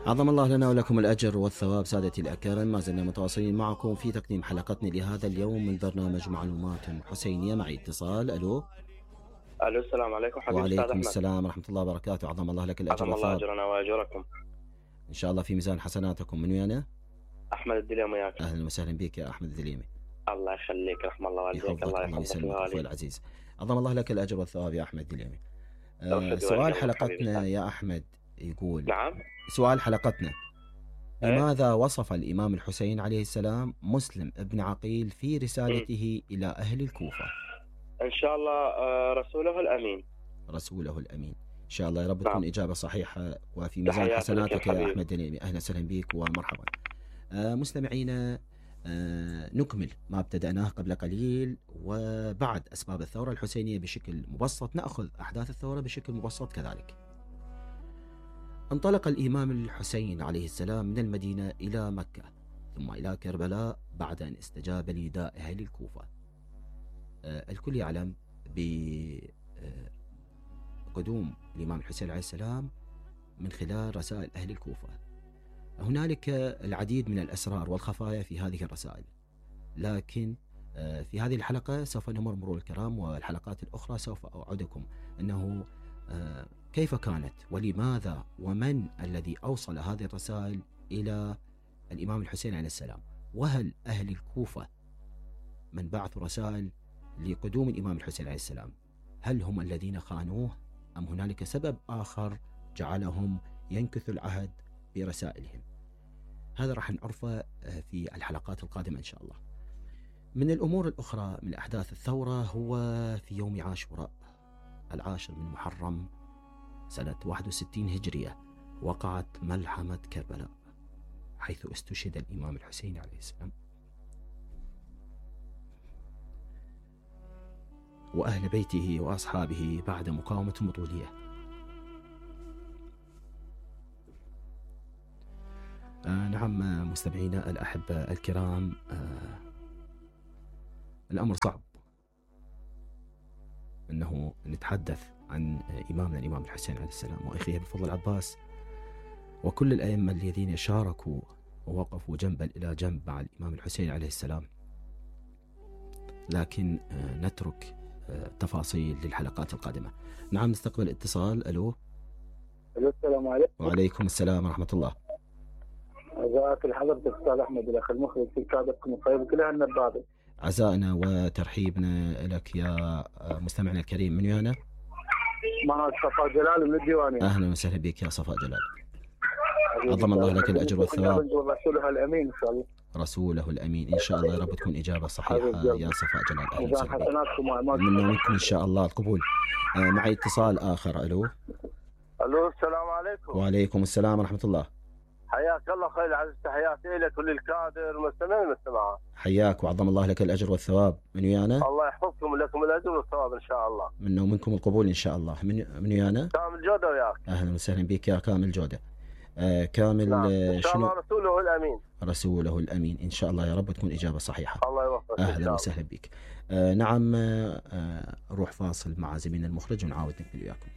عظم الله لنا ولكم الأجر والثواب. سادتي الأكارم، ما زلنا متواصلين معكم في تقديم حلقتنا لهذا اليوم من برنامج معلومات حسينية. معي اتصال. ألو. السلام عليكم حبيبي. وعليكم السلام ورحمة الله وبركاته. عظم الله لك الأجر والثواب. عظم الله أجرنا وأجركم إن شاء الله في ميزان حسناتكم. من ويانا؟ أحمد الدليمي. وياك. أهلا وسهلا بك يا أحمد الدليمي. الله يخليك، رحم الله والديك. الله يسلمك أخوي العزيز. عظم الله لك الأجر والثواب يا أحمد الدليمي. سؤال حلقتنا يا أحمد يقول. نعم. سؤال حلقتنا: لماذا وصف الإمام الحسين عليه السلام مسلم ابن عقيل في رسالته إلى أهل الكوفة؟ إن شاء الله رسوله الأمين. رسوله الأمين. إن شاء الله يا رب تكون إجابة صحيحة وفي ميزان حسناتك يا أحمد دليمي. أهلا وسهلا بك ومرحبا. مستمعينا، نكمل ما ابتدأناه قبل قليل، وبعد أسباب الثورة الحسينية بشكل مبسط نأخذ أحداث الثورة بشكل مبسط كذلك. انطلق الإمام الحسين عليه السلام من المدينة إلى مكة ثم إلى كربلاء بعد أن استجاب لنداء أهل الكوفة. الكل يعلم بقدوم الإمام الحسين عليه السلام من خلال رسائل أهل الكوفة. هنالك العديد من الأسرار والخفايا في هذه الرسائل، لكن في هذه الحلقة سوف نمر مرور الكرام، والحلقات الأخرى سوف أوعدكم أنه كيف كانت ولماذا ومن الذي أوصل هذه الرسائل إلى الإمام الحسين عليه السلام، وهل أهل الكوفة من بعثوا رسائل لقدوم الإمام الحسين عليه السلام هل هم الذين خانوه أم هنالك سبب آخر جعلهم ينكثوا العهد برسائلهم؟ هذا راح نعرفه في الحلقات القادمة إن شاء الله. من الأمور الأخرى من أحداث الثورة هو في يوم عاشوراء 10 من محرم سنة 61 هجرية وقعت ملحمة كربلاء، حيث استشهد الإمام الحسين عليه السلام وأهل بيته وأصحابه بعد مقاومة بطولية. نعم مستمعينا الأحبة الكرام، الأمر صعب أنه نتحدث عن إمامنا الإمام الحسين عليه السلام وأخيه بفضل العباس وكل الأئمة الذين شاركوا ووقفوا جنبا إلى جنب مع الإمام الحسين عليه السلام، لكن نترك تفاصيل للحلقات القادمة. نعم نستقبل اتصال. ألو. السلام عليكم. وعليكم السلام ورحمة الله. عزاك لحضرتك أستاذ أحمد الأخ المخرج في كادركم الطيب كلها النبابة. عزائنا وترحيبنا لك يا مستمعنا الكريم. من ويانا؟ معك صفاء جلال من الديوانية. أهلا وسهلا بك يا صفاء جلال. عظم الله لك الأجر والثواب. رسوله الأمين إن شاء الله. رسوله الأمين إن شاء الله يا رب تكون إجابة صحيحة يا صفاء جلال. أهلا وسهلا بك. منا ومنكم إن شاء الله القبول. معي اتصال آخر. ألو. السلام عليكم. وعليكم السلام ورحمة الله. حياك الله خير العزيز، تحياتي لك وللكادر والمستمعين والمستمعات. حياك وعظم الله لك الأجر والثواب. من ويانا؟ الله يحفظكم ولكم الأجر والثواب إن شاء الله. منا ومنكم القبول إن شاء الله. من ويانا؟ كامل جودة وياك. أهلا وسهلا بك يا كامل جودة. كامل نعم. إن شاء الله رسوله الأمين. رسوله الأمين إن شاء الله يا رب تكون إجابة صحيحة. الله يوفقك. أهلا وسهلا بك. نعم روح فاصل مع زميلنا المخرج ونعاود نكمل وياكم.